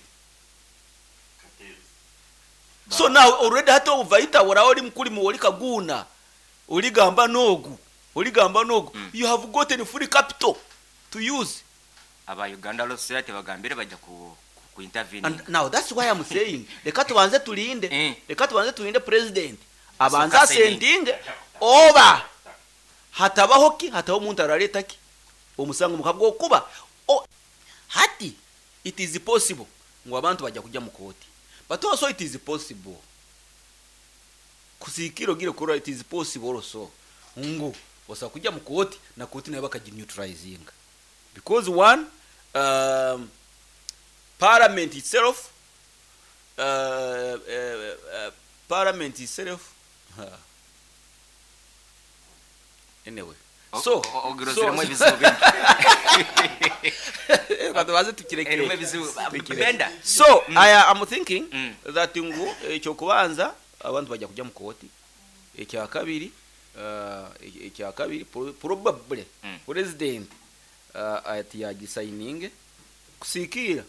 So now already hata ovaita wora oli mukuli mu oli kaguna oligamba nogu oligamba nogu, you have gotten free capital to use. Aba Uganda Law Society bagambire bajja ku intervene. And now that's why I'm saying leka tubanze tulinde. Leka tubanze tulinde president abanze Soka signing. asentinge oba hatabaho ki hatabaho omuntu araleta ki omusango mukabwa okuba hati it is possible ngu abantu bajja kujja mu kooti, but also it is possible kusikiro gire kura, it is possible also ngu osobola kujja mu kooti na kooti nayo bakagineutralizinga, because one, parliament itself, parliament itself, anyway, so Ogirozeremu ebizibu bingi. Katubaze tukireke. Erimu ebizibu. Tukireke. Benda. So I am thinking that ngu ekyokubanza abantu bajja kujja mu kooti. Ekyakabiri, probably president ati yagisayininge kusiikira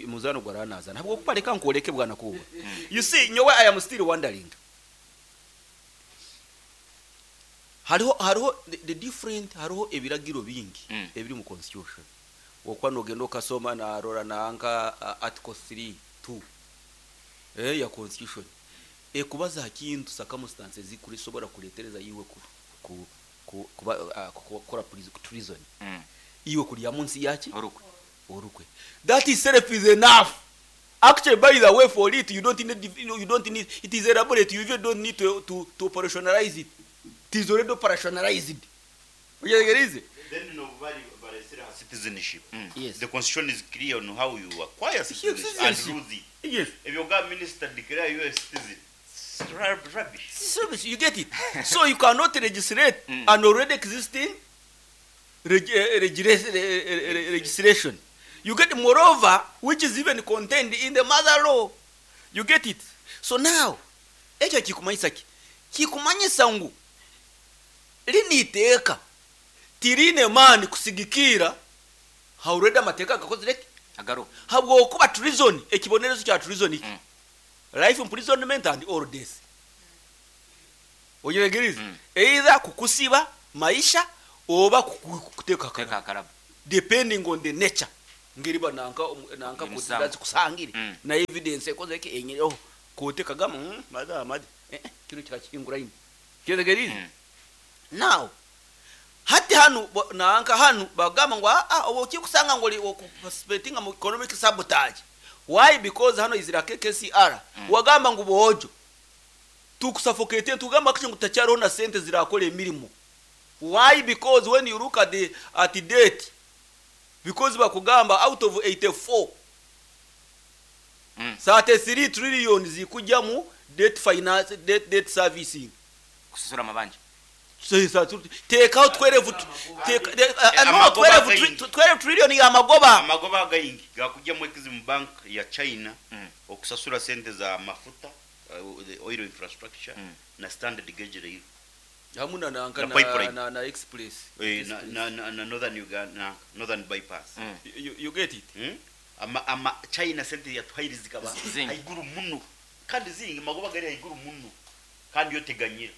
muzano gwaranaza ntabwo kupareka nkuoleke bwana kuba. You see, nyowe I am still wondering, hariho the different, hariho ebiragiro bingi ebiri mu constitution. Okwa nogenda okasoma narora nanka article 3 2 ya constitution ekubaza kintu circumstances zikulisobora kuletereza iwe ku kuba kukora treason, iwe kulya munsi yaki Orukwe. Orukwe. That itself is enough. Actually, by the way, for it you don't need, it is elaborate, you even don't need to operationalize it. It is already operationalized. Ugeregerize. Then no bari baresera citizenship. Yes. The constitution is clear on how you acquire citizenship and Citizenship. lose it. Yes. If you got minister declare you a citizen, it's rubbish. Service, you get it? So you cannot legislate an already existing legislation. You get? Moreover, which is even contained in the mother law. You get it? So now ekyo kikumanyisa ki? Kikumanyisa ngu lini iteeka tirine maani kusigikira. Already amateeka gakozire ki? Agaruho. Habwokuba treason, ekibonerezo kya treason ki? Life imprisonment and or death. Oyetegerize? Either kukusiba maisha oba kukuteeka Kuteeka akarabo. Depending on the nature ngeri ba nanka nanka Emisango. kusangire na evidence ekoze ki enyireho kote kagamba maza amadi kino kikakihinguraine. Kyetegerize? Now hati hanu nanka hanu bagamba ngu obu kikusanga ngu ori okuparticipatinga mu economic sabotage. Why? Because hano izira KKCR. Wagamba ngu bojo tukusuffocate, tugamba kicho ngu takyariho na sente zirakora emirimo. Why? Because when you look at the at the date, because bakugamba out of 84 33 trillion zikujyamu debt finance, debt servicing. Kusasura amabanja. Tekaho 12 teka, no, Amagoba gayingi. 12 trillion ya magoba. Amagoba gayingi gakujya mu Exim Bank ya China okusasura sente za mafuta, the oil infrastructure na standard gauge rail. Hamwe na nanka Na pipeline. na express. Express. Na northern Uganda, na northern bypass. You get it? Ama China sente yatuhairiza zikaba Zingi. haiguru muno. Kandi zingi magoba gari haiguru muno. Kandi yoteganyira.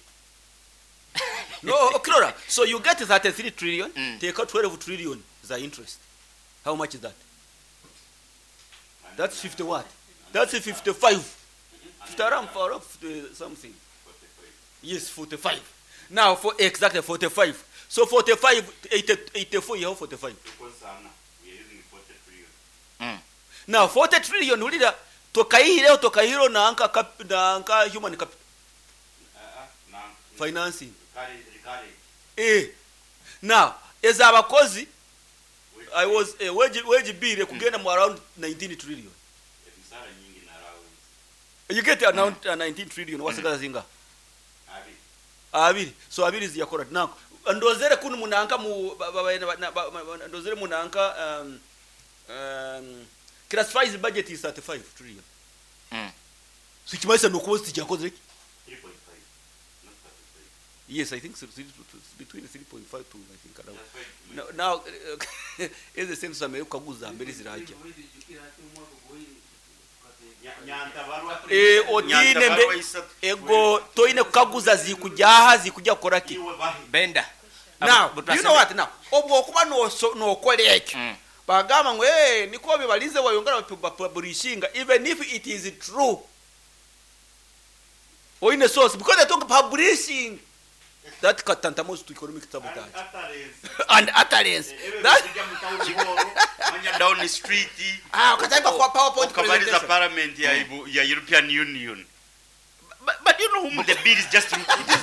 No, okirora. So you get 33 trillion, take out 12 trillion za interest. How much is that? That's 50 what? That's 55. 50 around for around 50 something. Yes, 45. Now for exactly 45. So 45, 84, you have 45. We are using 40 trillion. Now 40 trillion ulira tokaihireo tokaihiro na anka cap, na anka human capital. Na financing. Recurrent. Now as abakozi I was wage bill kugenda mu around 19 trillion. Emisara nyingi na allowance. You get around 19 trillion wasigaza zinga? Abiri. Abiri. So abiri ziyakora nako. Ndozere kunu munanka mu ba, ba, ba, ba, ba, ba, ndozere munanka classifies budget is 35 trillion. So kimaisa nokuba sijakoze ki? 3.5. Not 35. Yes, I think so, between 3.5 to I think around. That's why Now, now is the same same ukaguza mbere zirajya. Otine mbe ego toine kukaguza zikujyaha zikujya kukora ki? Benda. Now, But you know what now? Obwo kuba nokora ekyo. Bagamba ngo niko bibalize wayongera publishinga even if it is true. Oine source because they talk publishing that katantamost to economic sabotage and utterance. That down the street. Ukataipa kwa PowerPoint Ukabaliza presentation. parliament ya European Union. But you know whom the bill is just it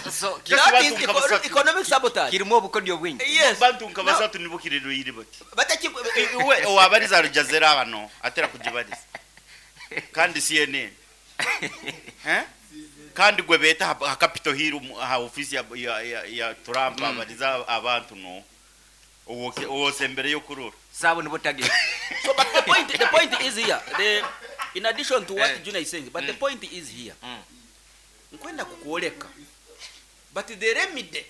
is So, just That bantu is nkabasatu. economic sabotage. Kirimo obukodyo bwingi. Yes. Bantu nkabasatu nibo kirero yiri bati. Bataki Iwe owabariza Al Jazeera bano atera kugibariza. Kandi CNN. Kandi gwe beta ha Capitol Hill ha office ya Trump abariza abantu no. Uwo sembere yo kurura. Sabo nibo target. So but the point is here. The in addition to what Junior is saying, but the point is here. Nkwenda kukuoleka. But the remedy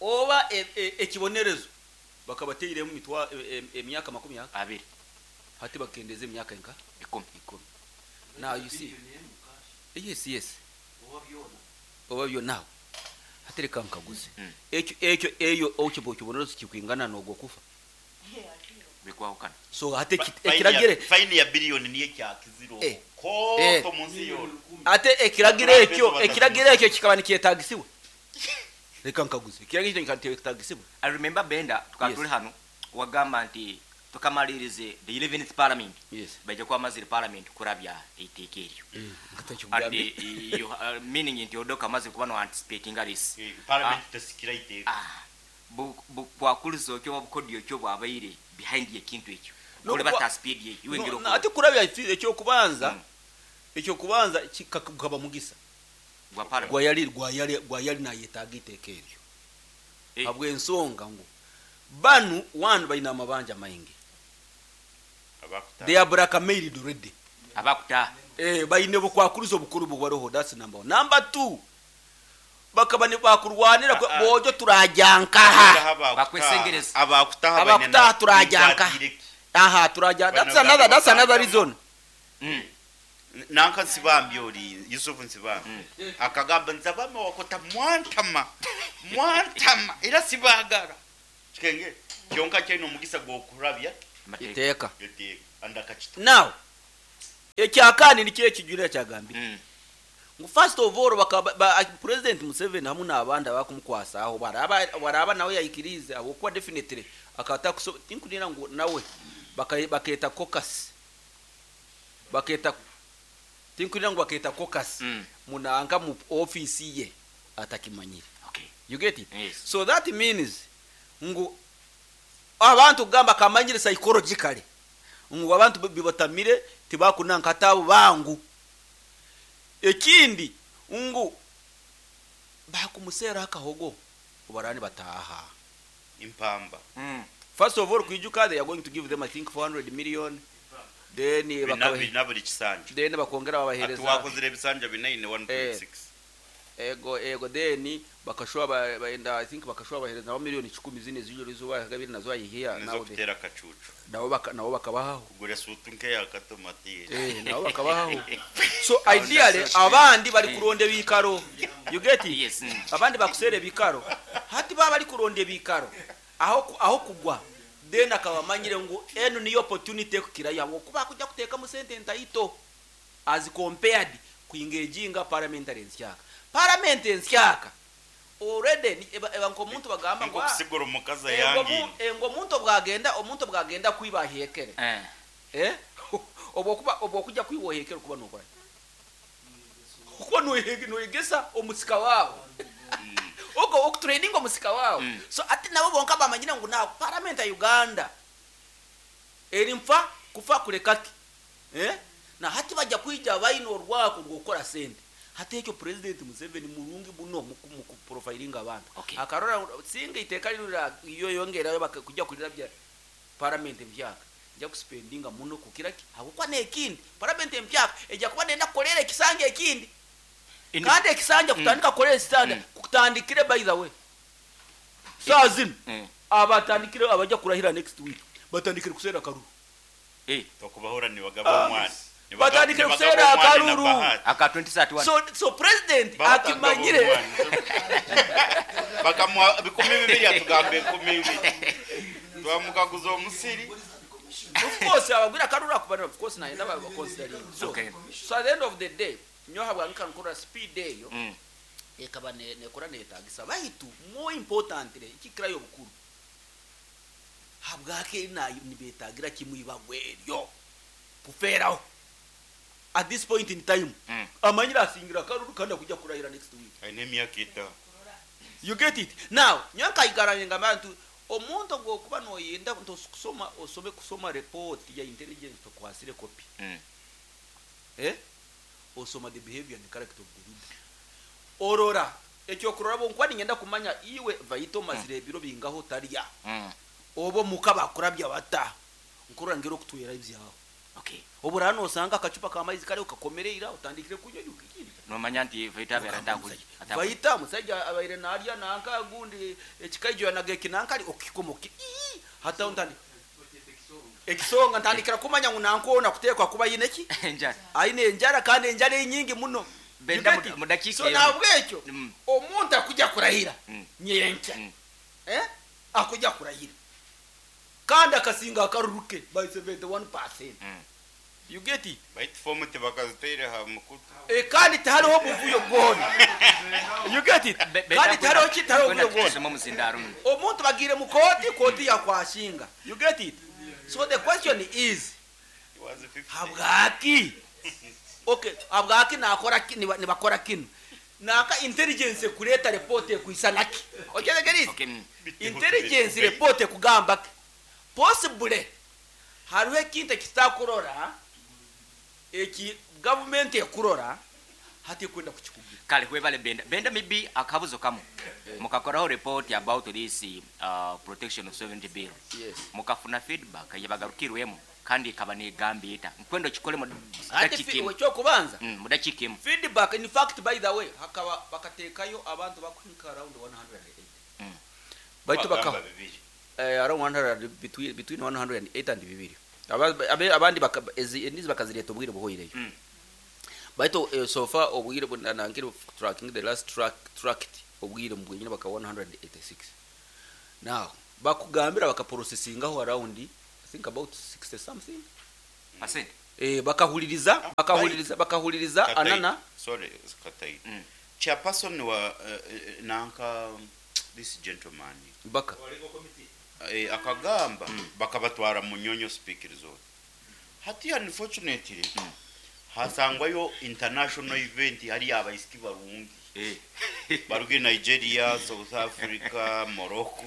oba ekibonerezo bakabateiremu mitwa emyaka makumi abiri. Hati bakendeze emyaka enka? Ikumi. Ikumi. Now you see. Yes, yes. Oba byo now. Hatereka nkaguze. Ekyo ekyo eyo okibo kibonerezo kikwingana nogwo kufa. Bikwahukana. So hate ekiragire Fine ya billion niye kyakiziro. Ko to munsi yona. Ate ekiragire ekyo, ekiragire ekyo kikaba nikyetagisiwe. Reka nkaguze. Ekiragire ekyo nikyetagisiwe. I remember Benda tukatuli hano wagamba nti tukamalirize the 11th parliament. Yes. Baje kwa maziri parliament kurabya iteeka eryo. And you, meaning nti odoka maziri kuba no anticipating this. Parliament tasikira iteeka. Kwakuliza okyo obukodyo okyo bwabaire behind ekintu ekyo. Kole bata speed ye, iwe ngiro No, ate kurabya ekyo kubanza, ekyo kubanza kikaba mugisa. Gwa parliament. Gwa yali nayetaaga iteeka eryo. Habw'ensonga ngu banu one balina amabanja maingi. Abakuta. They are blackmailed already. Abakuta. Balina obukwakulizo obukulu bubwaroho, that's number one. Number two, Bakaba nibakurwanira boojo turajya nkaha. Bakwesengereza. Abakutaha baine Abakutaha turajya nkaha. Aha turajya, that's another reason. Nanka Nsibambi, ori Yusufu Nsibambi akagamba, "Nzabame wakota mwantama mwantama era sibagara kikenge kyonka kyine omugisa gwokurabya Amateeka. Iteeka. Eteeka andakakita." Now ekyakandi nikyo ekijurira kyagambire ngu first of all President Museveni hamwe n'abandi abakumukwasaho baraba nawe yayikirize, habwokuba definitely akata tinkunira ngu nawe baketa caucus, baketa, tinkunira ngu baketa caucus munanka mu office ye atakimanyire. You get it? Yes. So that means ngu abantu kugamba kamanyire psychologically ngu abantu bibatamire, tibakunanka atabo bangu. Ekindi ngu bakumusera akahogo obarani bataha Impamba. First of all, kwijuka they are going to give them, I think, 400 million, then Bina buli kisanja. Then bakongera Ati babahereza wakozire ebisanja binaine 1.6. Ego, then bakashwa baenda, I think bakashwa bahereza nabo miliyoni 10 zine z'ijoro izuba gabiri nazo ayihiya Nizo nawe kutera akacucu. Nabo bakabahaho. Kugura sutu nk'eyakatomatiye. Nabo bakabahaho. So ideally abandi bari kuronda ebikaro, you get it? Yes. Abandi bakusera ebikaro, hati baba bari kuronda ebikaro aho kugwa, then akaba amanyire ngu eno niyo opportunity ekukira yabo kuba kujja kuteekamu sente ntaito as compared kuingeginga parliamentary ensyaka, parliament ensyaka already eba nk'omuntu bagamba ngu, "Ah, Nkokusigura omukazi engo ayangi. Engo omuntu bwagenda kwiba ahekere." Obwokuba obwokujja kwiba ohekere, kuba nokora kuba noyegesa omusika wawe, oko okutraininga omusika wawe. So ati nabo bonka bamanyire ngu na parliament ya Uganda eri nfa kufa kulekaki, na hati bajja kwija bayina orwako rwokora sente. Hati ekyo President Museveni murungi buno mu profilinga abantu. Akarora singa iteka ririra iyo yongerayo kujja kulira bya parliament empyaka, nja kuspendinga muno kukira ki, habwokuba nekindi parliament empyaka ejja kuba nenda kukolera ekisanja ekindi. Kandi ekisanja kutandika kukolera ekisanja kutandikire, by the way, saa zino abatandikire abajja kurahira next week batandikire kusera akaruru. Tokubahura nibagaba omwana. Batandikire kusera akaruru. Aka 2031. So president akimanyire. Bakamuha 2000, atugamba 20,000 twamukaguza omusiri. Of course abagwira akaruru akubana, of course nayenda baconsidering. So so at the end of the day, nyoha bwanka nkora speed eyo ekaba nekora netagisa baitu more importantly ikikirayo obukuru, habwake nayo nibetagira kimwe ibagweryo kuferaho at this point in time. Amanyira asingira akaruru kandi akujja kurahira next week. Aine emyaka 5. You get it? Now nyonkaigaranye abantu, omuntu gwokuba noyenda kusoma, osome kusoma report ya intelligence, tokwasire copy. Osoma the behavior and character of the leader, orora ekyokurora bonkuba ningenda kumanya iwe vaito mazire ebiro bingaho tarya obo muka bakurabya bata, nkurora ngira okutwera ebyaho. Obura hano osanga akacupa k'amaizi kariho kakomereira, otandikire kunywa ikindi. Nomanya nti vaita abeera atakuli. Vaita musajja abaire narya nanka gundi ekikaijo yanageki nankali okikomoki hata ntandi ekisonga ntandikira kumanya ngu nankoona kutekwa kuba yine ki Enjara. Aine enjara, kandi enjara enyingi muno. Benda You get it? mu dakiika So emu. nabwekyo omuntu akujja kurahira nyenkya, akujja kurahira kandi akasinga akaruruke by 71%. You get it? Baitu fomu tibakaziteire ha mukutu. Kandi tihariho obuvuyo bwona. You get it? Kandi tihariho ki, tihariho obuvuyo bwona. Tusome omuzindaaro. Omuntu bagire mu kooti, kooti yakwashinga. You get it? So the question is, It was 50. habwaki, okay, habwaki nakora nibakora kino naka intelligence kureta report ekwisanaki okyetegereze? Okay. Intelligence report ekugamba ki? Possibly hariho ekintu ekitakurora eki gavumenti ekurora hati ekwenda kukikugira. Kale webale Benda. Benda, maybe akabuzo kamu. Mukakoraho report about this Protection of Sovereignty Bill. Yes. Mukafuna feedback yabagarukirwemu. Kandi ekaba negamba eta? Nkwenda okikole mu Ate dakiika emu. Ekyokubanza, Mu dakiika emu. Feedback, in fact, by the way, hakaba bakateekayo abantu bakuhika around 108, baitu baka Bagamba bibiri. Around 100, between 108 and bibiri. Abandi endizi bakazireta obwire buhoireyo. Baitu so far obwire nankiri tracking the last track tracked obwire mbwenyine baka 186. Now bakugambira bakaprocessingaho around, I think, about 60 something Percent. Bakahuliriza Katayi. anana. Sorry, Katayi. Chairperson wa nanka this gentleman baka akagamba bakabatwara Munyonyo Speke Resort. Hati unfortunately hasangwayo international event, hari abaisiki barungi baruge Nigeria, South Africa, Morocco,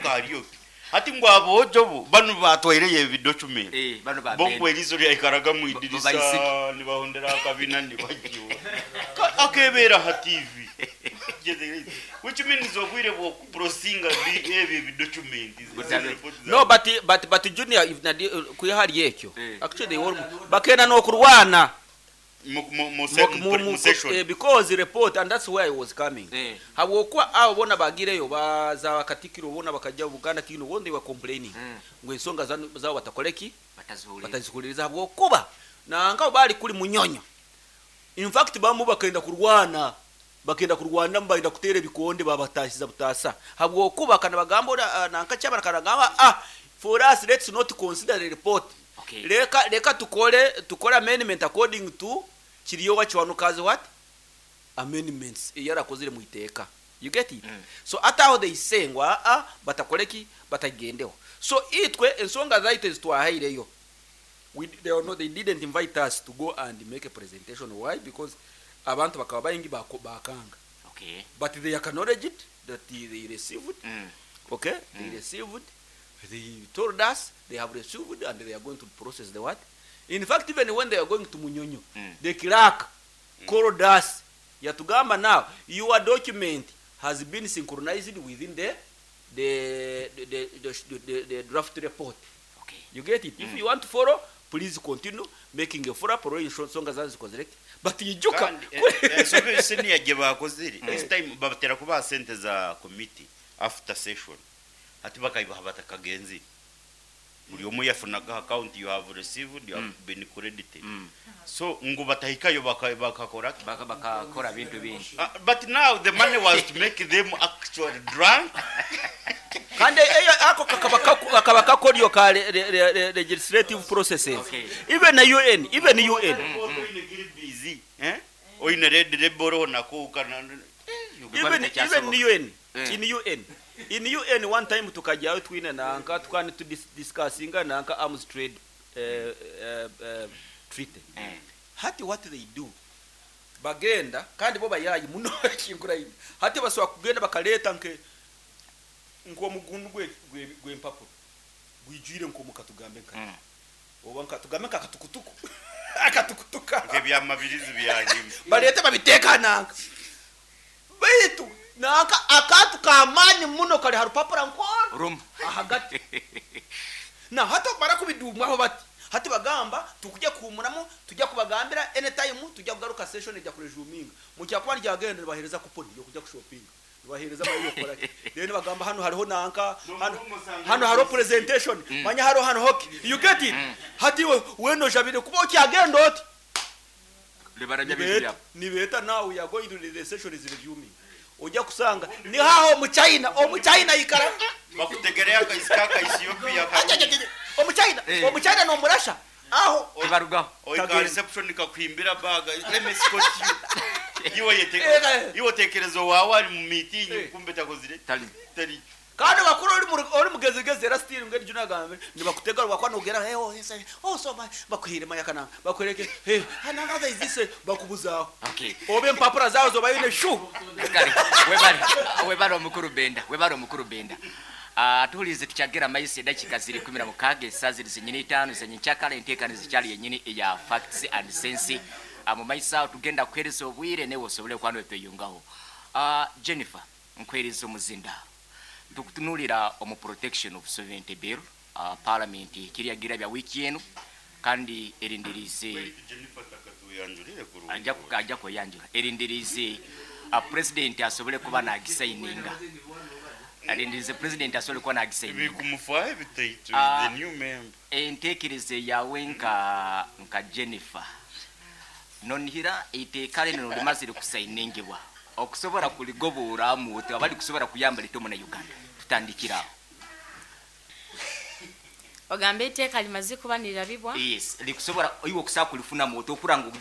hariyo hati ngo abojo bo bano batwaireye ebidocument. Bano ba Bongo erizo lyaikaraga mu idirisa. Baisiki. Nibahondera akabina nibagiwa akebera ha TV, which means obwire bwokuprosinga ebyo ebidocument. No, but Junior, if nadi kuyahari ekyo, actually they were bakenda nokurwana mu session. Because report, and that's where I was coming, habwokuba abo bona bagireyo baza bakatikiro bona bakajja Buganda kino bona, they were complaining ngo ensonga zabo batakoleki. Bataziwulira. Batazihuliriza habwokuba nanga bali kuli Munyonyo. In fact, bamu bakenda kurwana, bagenda kutera ebikonde, babatasiza butasa habwokuba kana bagamba nanka kyabana kanagamba, "Ah, for us, let's not consider the report." Leka tukole amendment according to Kiryowa Kiwanuka's what amendments eyarakozire mu iteeka. You get it? So ate aho they say ngo aa batakoleki, batagendeho. So itwe ensonga zaitu ezitwahaireyo, they, are not, they didn't invite us to go and make a presentation. Why? Because abantu bakaba baingi bakanga. But they acknowledge it that they received. Okay, they received. They told us they have received and they are going to process the what. In fact, even when they are going to Munyonyo, the clerk called us, yatugamba, "Now your document has been synchronized within the draft report." You get it? "If you want to follow, please continue making a follow up or ensonga zazo zikozereke." But ijuka Kandi ensobi senior gye bakozire this time, babatera kubaha sente za committee after session, ati bakayibaha batakagenzi, buri umwe yafunaga account, "You have received, you have been credited." So ngo batahikayo bakakora ki? Bakakora bintu bingi. But now the money was to make them actually drunk. Kandi eyo ako kakaba kakoryo ka legislative processes. Even na UN, even UN. Busy, eh, oine red rebel nako kana Even UN. In UN one time tukajyayo twine nanka tukani tu discussinga nanka arms trade treaty. Hati what they do, bagenda kandi bo bayayi muno kingura ine, hati basobola kugenda bakaleta nke nk'omugundu gw'empapuro gwijwire nk'omuka, tugambe nka oba nka tugambe nka akatukutuku akatukutuka. Ebyamabirizi byanyuma. Balete babiteeka nanka, baitu nanka akantu kamaani muno kali ha rupapura nkono Rumu. Ahagati na hati bamara kubidumwaho bati, hati bagamba tukujya kuhumuramu, tujya kubagambira anytime tujya kugaruka, session ijya kuresuminga. Mukyakuba ryagenda nibahereza kuponi yo kujya kushopinga, nibahereza bayo ki, then bagamba hano hariho nanka hano, hano hariho presentation, manya hariho hano hockey. You get it? Hati we weno jabire kuba okyagenda oti Libarabya bintu nibeta byabo. Nibeta, now we are going to the session is resuming, ojja kusanga ni haho omuchina, omuchina ikara. Bakutegerea akaisi ka Ethiopia. Omuchina. Omuchina n'omurasha aho. Tibarugaho. Oika Kagenda. reception kakwimbira baga, "Let me escort you." Iwe yete iwe tekerezo wawe ari mu meeting, kumbe takozire Tali. tari. Kandi bakuru ori mugezigezi era still ngeri juna gambe nibakutega rwakwa nogera, "Hey, oh yes, oh so my," bakuhire mayakana bakwereke, "Hey, another is this," bakubuzaho. Obe empapura zawo zobayine shu. Kale webale, webale omukulu Benda, webale omukulu Benda. Ah, tuhulize tukyagera maisi edakika ziri 16, esaa ziri zenyini 5 zenyenkyakala, enteekano zikyali yenyini eya Facts and Sense. Mu maiso awo tugenda kuhereza obwire newe osobole okuba notweyungaho. Jennifer, nkuhereza omuzindaalo. Tukutunuulira omu Protection of Sovereignty Bill. Paramenti ehikire yagirabya wiiki enu kandi erindiriize Jennifer takatuyanjurire kurungi. Ajja kweyanjura. Erindiriize Purezidenti asobole kuba naagisayininga. Arindiriize Purezidenti asobole kuba naagisayininga. Bikumufaho ebitaito, Ah. the new member. Entekereza yaawe nka Jennifer, nonihira eiteeka linu limazire kusayiningibwa okusobora kuligoboramu oti abali kusobora kuyamba liti omuna Uganda? Tutandikire aho. Ogamba eiteeka limaze kuba nirirabibwa? Yes, likusobora iwe okusobola kulifunamu oti okura ngu